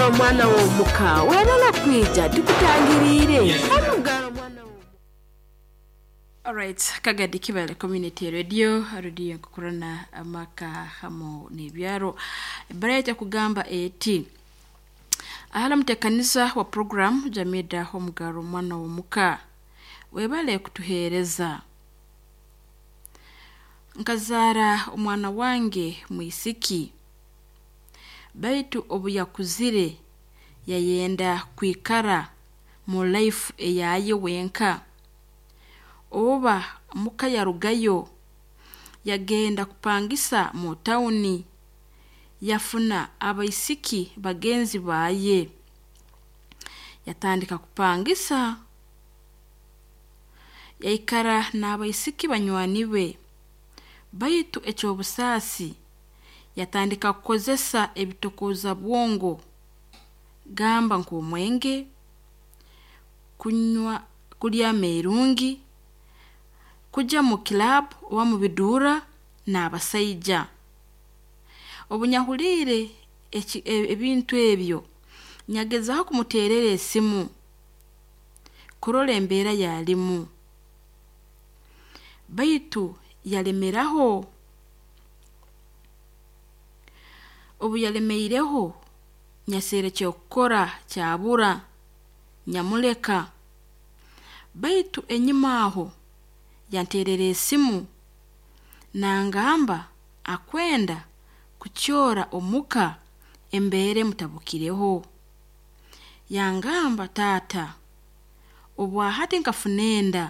Omugaro omwana w'omuka webale kwija tukutangiriire. Omugaro omwana w'omuka. Alright, Kagadi Kibale Community Radio, radio nkukurana amaka hamo n'ebyaro. Ebara kugamba eti ahala mutekanisa wa program Jamida Omugaro omwana w'omuka webale kutuheereza. Nkazaara omwana wange mwisiki, baitu obu yakuzire yayenda kwikara mu life eyaye wenka. Oba muka yarugayo yagenda kupangisa mu tawuni, yafuna abaisiki bagenzi baye, yatandika kupangisa, yaikara n'abaisiki banywani be. Baitu eky'obusaasi yatandika kukozesa ebitokooza bwongo, gamba nk'omwenge, kunywa kulya ameerungi, kujya mu club oba mu biduura n'abasaija. Obu nyahuliire ebintu ebyo, nyagezaho kumuteerera esimu kurora embeera yaalimu, baitu yalemeraho. Obu yalemeireho, nyaserra eky'okukora kyabura, nyamuleka. Baitu enyuma aho yanteerera esimu nangamba akwenda kukyora omuka embeera emutabukireho. Yangamba, taata, obwahati nkafuna enda.